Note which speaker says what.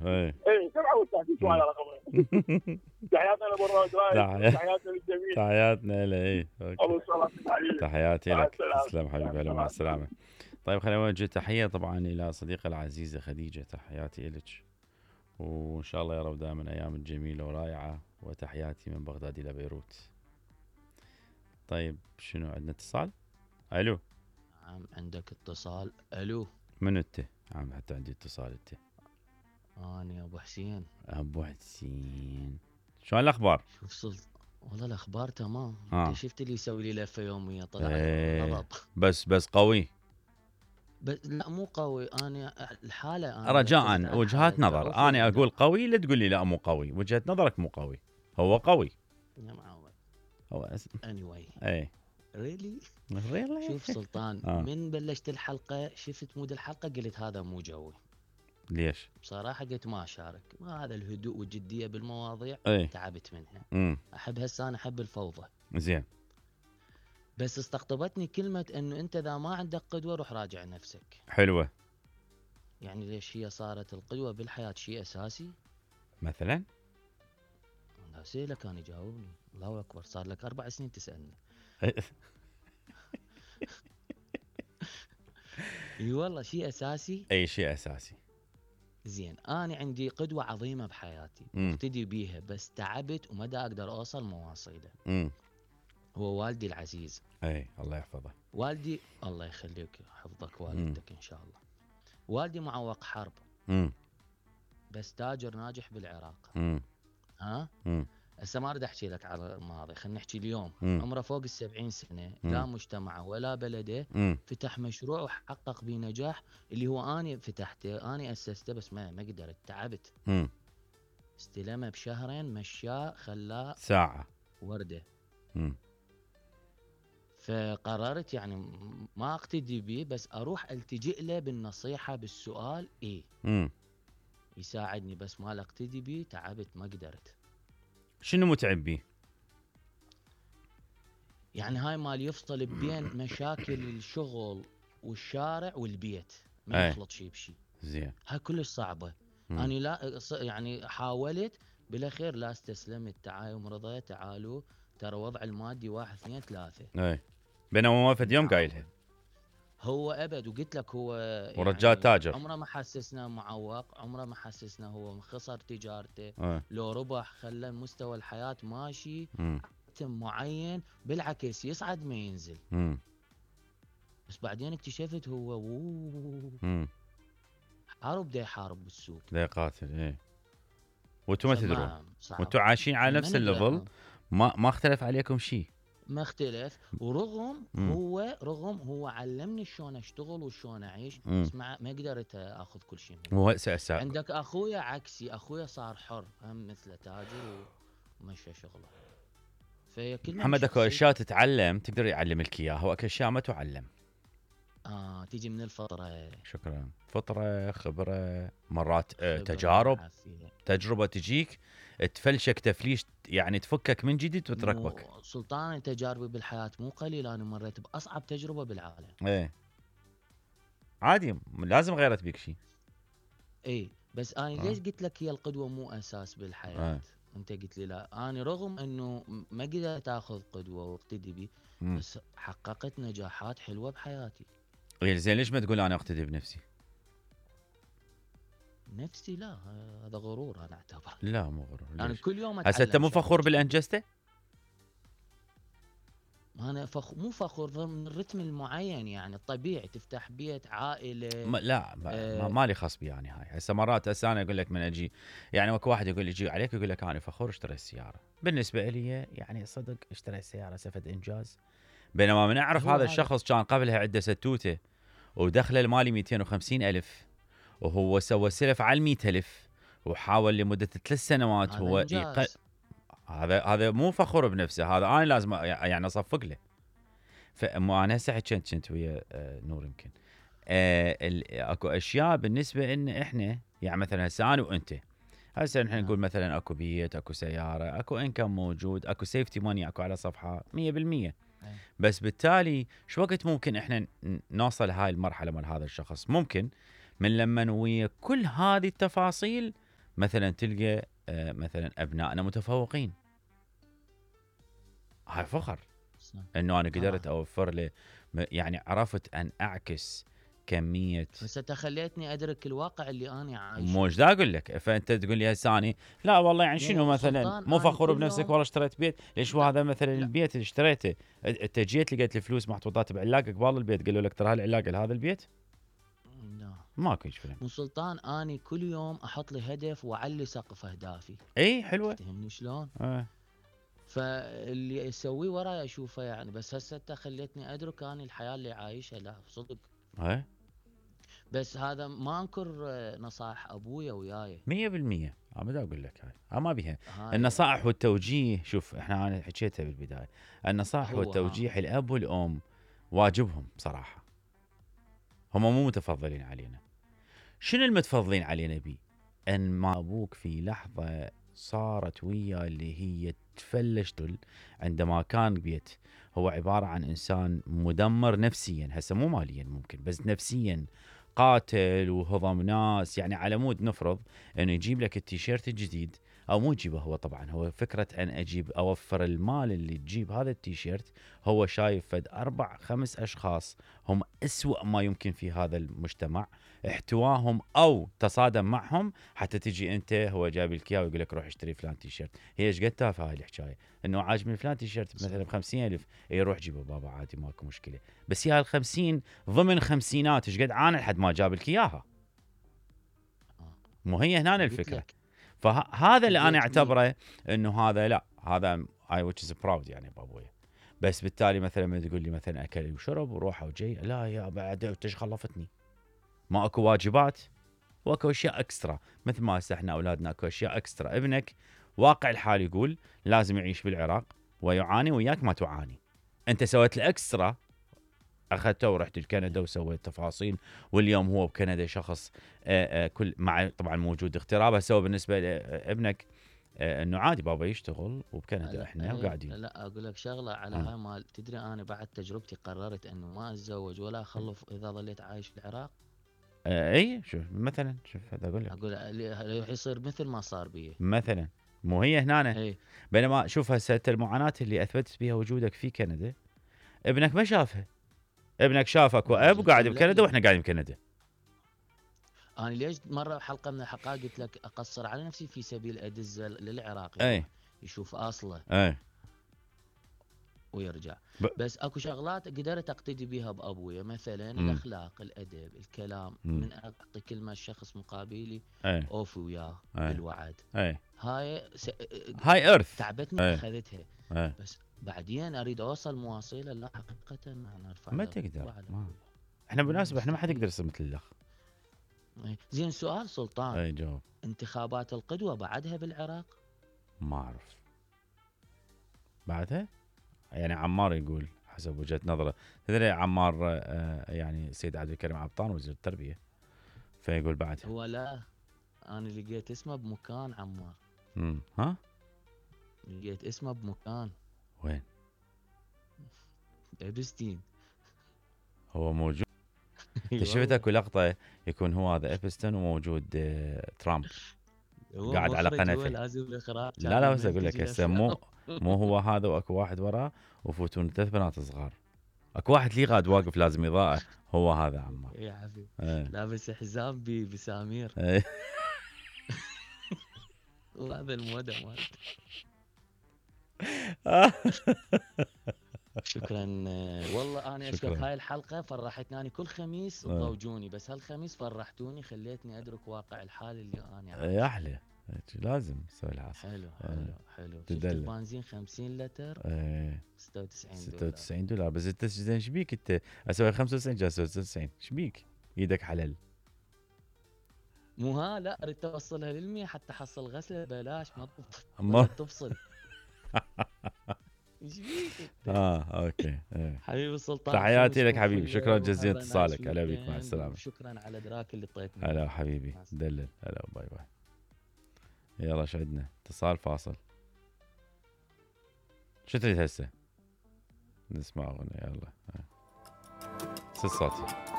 Speaker 1: اي كم عود تحكي سؤال رقم. تحياتنا لابو رايد، تحياتنا للجميع.
Speaker 2: تحياتنا له. اي تحياتي لك. تسلم حبيبي. هلا مع السلامه. طيب خلينا نوجه تحيه طبعا الى الصديقه العزيزه خديجه. تحياتي لك، وان شاء الله يا رب دائما ايام جميله ورائعه، وتحياتي من بغداد الى بيروت. طيب شنو عندنا اتصال؟ الو.
Speaker 3: نعم عندك اتصال. الو
Speaker 2: من انت؟ عم حتى عندي اتصال. انت؟
Speaker 3: انا ابو حسين.
Speaker 2: ابو حسين، شلون الاخبار؟
Speaker 3: شوف صلت والله الاخبار تمام. انت شفت اللي يسوي لي لفه يوميه طلع غضب.
Speaker 2: بس قوي.
Speaker 3: بس لا مو قوي. انا الحاله أنا
Speaker 2: رجاء وجهات نظر. انا اقول قوي لا تقول لي لا مو قوي. وجهه نظرك مو قوي. هو قوي.
Speaker 3: يا معود.
Speaker 2: هو
Speaker 3: anyway.
Speaker 2: اي
Speaker 3: ريلي. شوف سلطان من بلشت الحلقه شفت مود الحلقه قلت هذا مو جوي.
Speaker 2: ليش؟
Speaker 3: بصراحه قلت ما اشارك. ما هذا الهدوء والجديه بالمواضيع تعبت منها. احب هسه انا احب الفوضى.
Speaker 2: زين.
Speaker 3: بس استقطبتني كلمه انه انت اذا ما عندك قدوه روح راجع نفسك.
Speaker 2: حلوه.
Speaker 3: يعني ليش هي صارت القدوه بالحياه شيء اساسي؟
Speaker 2: مثلا
Speaker 3: لا اسالك كان يجاوبني. الله اكبر صار لك 4 سنين تسالني. اي والله شيء اساسي.
Speaker 2: اي شيء اساسي.
Speaker 3: زين انا عندي قدوه عظيمه بحياتي اقتدي بيها، بس تعبت وما دا اقدر اوصل مواصيله. هو والدي العزيز.
Speaker 2: اي الله يحفظه.
Speaker 3: والدي الله يخليك حفظك والدتك ان شاء الله. والدي معوق حرب. بس تاجر ناجح بالعراق. ها هسه ما اريد احكي لك على الماضي، خلينا نحكي اليوم. عمره فوق ال70 سنه. لا مجتمعه ولا بلده فتح مشروع وحقق به نجاح اللي هو اني فتحته اني اسسته، بس ما قدرت. تعبت. استلمه بشهرين مشاه خلاه
Speaker 2: ساعه
Speaker 3: ورده. فقررت يعني ما اقتدي به، بس اروح التجئ له بالنصيحه بالسؤال. يساعدني بس ما اقتدي به. تعبت ما قدرت.
Speaker 2: شنو متعب بيه؟
Speaker 3: يعني هاي مال يفصل بين مشاكل الشغل والشارع والبيت، ما يخلط شيء بشيء.
Speaker 2: زين.
Speaker 3: هاي كلش صعبه. انا لا يعني حاولت بالاخير لا استسلمت. تعايم رضا تعالوا ترى وضع المادي 1 2 3.
Speaker 2: بينما ما فد يوم قايلها.
Speaker 3: هو ابد. وقلت لك هو
Speaker 2: ورجال
Speaker 3: يعني
Speaker 2: تاجر.
Speaker 3: عمره ما حسسنا معوق، عمره ما حسسنا هو خسر تجارته. لو ربح خلى مستوى الحياه ماشي معين، بالعكس يصعد ما ينزل. بس بعدين اكتشفت هو حارب دا يحارب بالسوق
Speaker 2: دا يقاتل. وانتم ما تدرون، وانتم عايشين على نفس الليفل. ما اختلف عليكم شيء.
Speaker 3: ما اختلف. ورغم هو علمني شلون اشتغل وشلون اعيش. بس ما قدرت اخذ كل شيء منه.
Speaker 2: هو
Speaker 3: عندك اخويا عكسي. اخويا صار حر هم مثله تاجر ومشى شغله. فهي كلها
Speaker 2: محمد اكو اشياء تتعلم تقدر يعلم لك اياها، واكو اشياء ما تعلم.
Speaker 3: تيجي من الفطره.
Speaker 2: شكرا. فطره، خبره، مرات تجارب. تجربه تجيك تفلشك تفليش، يعني تفكك من جديد وتركبك.
Speaker 3: سلطان تجاربي بالحياه مو قليل. انا مريت باصعب تجربه بالعالم.
Speaker 2: عادي لازم غيرت بيك شيء.
Speaker 3: بس انا ليش قلت لك هي القدوه مو اساس بالحياه. انت قلت لي لا. انا رغم انه ما قدرت اخذ قدوه واقتدي بي، بس حققت نجاحات حلوه بحياتي.
Speaker 2: زين ليش ما تقول انا اقتدي بنفسي؟
Speaker 3: نفسي لا، هذا غرور انا اعتبر.
Speaker 2: لا مو غرور.
Speaker 3: يعني كل يوم
Speaker 2: هسه انت مو فخور بالانجزته؟
Speaker 3: انا مو فخور من الرتم المعين، يعني الطبيعي تفتح بيت عائله.
Speaker 2: ما لي خص بي يعني. هاي هسه مرات انا اقول لك من اجي، يعني اكو واحد يقول يجي عليك يقول لك انا فخور اشتري السياره. بالنسبه لي يعني صدق اشتري السياره سفد انجاز. بينما من اعرف هذا الشخص كان قبلها عنده ستوته ودخله المالي 250,000، وهو سوى سلف على 100,000 وحاول لمده 3 سنوات. هو هذا مو فخور بنفسه. هذا انا لازم يعني اصفق له. فانا هسه كنت ويا نور يمكن اكو اشياء بالنسبه ان احنا يعني مثلا هسه انا وانت هسه نحن نقول مثلا اكو بيت، اكو سياره، اكو انكم موجود، اكو سيفتي ماني، اكو على صفحه 100%. بس بالتالي شو وقت ممكن احنا نوصل هاي المرحله مال هذا الشخص؟ ممكن من لما ويا كل هذه التفاصيل مثلا تلقى مثلا ابنائنا متفوقين، هاي فخر انه انا قدرت اوفر له، يعني عرفت ان اعكس كميه.
Speaker 3: بس انت خليتني ادرك الواقع اللي انا عايشه.
Speaker 2: مو دا اقول لك، فانت تقول لي هسه اني لا والله يعني شنو مثلا مو فخور بنفسك والله اشتريت بيت، ليش هذا مثلا البيت اللي اشتريته انت جيت لقيت الفلوس محطوطات بعلاقه قبال البيت، قالوا لك ترى هالعلاقه لهذا البيت؟
Speaker 3: لا
Speaker 2: ماكو هيك فيلم.
Speaker 3: مو سلطان، اني كل يوم احط لي هدف واعلي سقف اهدافي.
Speaker 2: اي حلوه.
Speaker 3: تفهمني شلون؟ فاللي يسويه وراي اشوفه يعني. بس هسه انت خليتني ادرك اني الحياه اللي عايشها لا صدق. بس هذا ما انكر نصائح ابويا وياي
Speaker 2: 100%. ما دا اقول لك هاي ما بيها النصائح والتوجيه. شوف انا حكيتها بالبدايه، النصائح والتوجيه الاب والام واجبهم بصراحه، هم مو متفضلين علينا. شنو المتفضلين علينا بيه؟ ان ما ابوك في لحظه صارت وياه اللي هي تفلش عندما كان بيت هو عباره عن انسان مدمر نفسيا، هسه مو ماليا ممكن بس نفسيا، قاتل وهضم ناس. يعني على مود نفرض انه يجيب لك التيشيرت الجديد، او مو يجيبه هو طبعا، هو فكره ان اجيب اوفر المال اللي تجيب هذا التيشيرت، هو شايف فد 4-5 اشخاص هم اسوأ ما يمكن في هذا المجتمع، احتواهم او تصادم معهم حتى تجي انت هو جايب لك اياه ويقول لك روح اشتري فلان تيشيرت. هي ايش قد تافهه هاي الحكايه، انه عاجبني فلان تيشيرت مثلا ب50,000، اي روح جيبه بابا عادي ماكو مشكله، بس هي ال50 ضمن خمسينات ايش قد عانى لحد ما جاب لك اياها. مو هي هنا الفكره. فهذا اللي انا اعتبره انه هذا لا، هذا اي which is proud يعني بابويا. بس بالتالي مثلا ما تقول لي مثلا اكل وشرب وروح وجاي، لا يا بعد ايش خلفتني، ما اكو واجبات واكو اشياء اكسترا. مثل ما هسه احنا اولادنا اكو اشياء اكسترا. ابنك واقع الحال يقول لازم يعيش بالعراق ويعاني وياك ما تعاني، انت سويت الاكسترا، اخذته ورحت لكندا وسويت تفاصيل، واليوم هو بكندا شخص كل مع طبعا موجود اغتراب. هسه بالنسبه لابنك انه عادي بابا يشتغل وبكندا احنا وقاعدين.
Speaker 3: لا اقول لك شغله على هاي مال، تدري انا بعد تجربتي قررت انه ما اتزوج ولا اخلف اذا ظليت عايش بالعراق.
Speaker 2: اي شوف مثلا، شوف هذا اقول
Speaker 3: لك يصير مثل ما صار بي
Speaker 2: مثلا. مو هي هنا بينما شوف هسه المعاناه اللي اثبتت بها وجودك في كندا ابنك ما شافها. ابنك شافك واب وقاعد بكندا واحنا قاعدين بكندا.
Speaker 3: انا ليش مره حلقه من الحلقات قلت لك اقصر على نفسي في سبيل ادز للعراق يشوف اصله ويرجع. بس اكو شغلات قدرت اقتدي بها بابويا، مثلا الاخلاق، الادب، الكلام، من اعطي كلمه الشخص مقابلي اوفي وياه بالوعد.
Speaker 2: هاي ارث
Speaker 3: تعبتني اخذتها. بس بعدين اريد اوصل مواصله، لا حقيقه انا ارفع
Speaker 2: ما تقدر. احنا بالمناسبه احنا ما حد يقدر يصير مثل الاخ.
Speaker 3: زين سؤال سلطان،
Speaker 2: جاوب.
Speaker 3: انتخابات القدوه بعدها بالعراق؟
Speaker 2: ما اعرف بعدها، يعني عمار يقول حسب وجهه نظره. تدري عمار يعني سيد عبد الكريم عبطان وزير التربيه، فيقول بعدها.
Speaker 3: هو لا، انا لقيت اسمه بمكان عمار.
Speaker 2: ها
Speaker 3: لقيت اسمه بمكان.
Speaker 2: وين؟
Speaker 3: ابستين.
Speaker 2: هو موجود. شفت اكو لقطه يكون هو هذا ابستون وموجود ترامب قاعد على قنفه. لا بس اقول لك هسه مو هو هذا، واكو واحد وراه وفوتون 3 بنات صغار، اكو واحد لي غاد واقف لازم اضاءه، هو هذا عمار
Speaker 3: يا حبيبي لابس حزام بسامير. وهذا المودة مالته. شكرا والله. انا اشكرك. هاي الحلقه فرحتني. انا كل خميس تضوجوني، بس هالخميس فرحتوني، خليتني ادرك واقع الحال اللي انا عايشه.
Speaker 2: يا احلى لازم تسوي العصر.
Speaker 3: حلو. شفت البنزين 50 لتر
Speaker 2: 96 دولار. بس انت زين ايش بيك انت اسوي 95 جالس 96 ايش بيك؟ ايدك حلال.
Speaker 3: مو لا اريد توصلها لل100 حتى حصل غسله ببلاش ما تفصل. ايش بيك؟
Speaker 2: اوكي.
Speaker 3: حبيبي السلطان،
Speaker 2: تحياتي لك حبيبي، شكرا جزيلا اتصالك. هلا بيك، مع السلامه.
Speaker 3: شكرا على ادراك اللي طيتني.
Speaker 2: هلا حبيبي دلل. هلا باي باي. يلا شو عندنا؟ اتصال فاصل. شو تريد هسه؟ نسمع اغنيه يلا. صوتي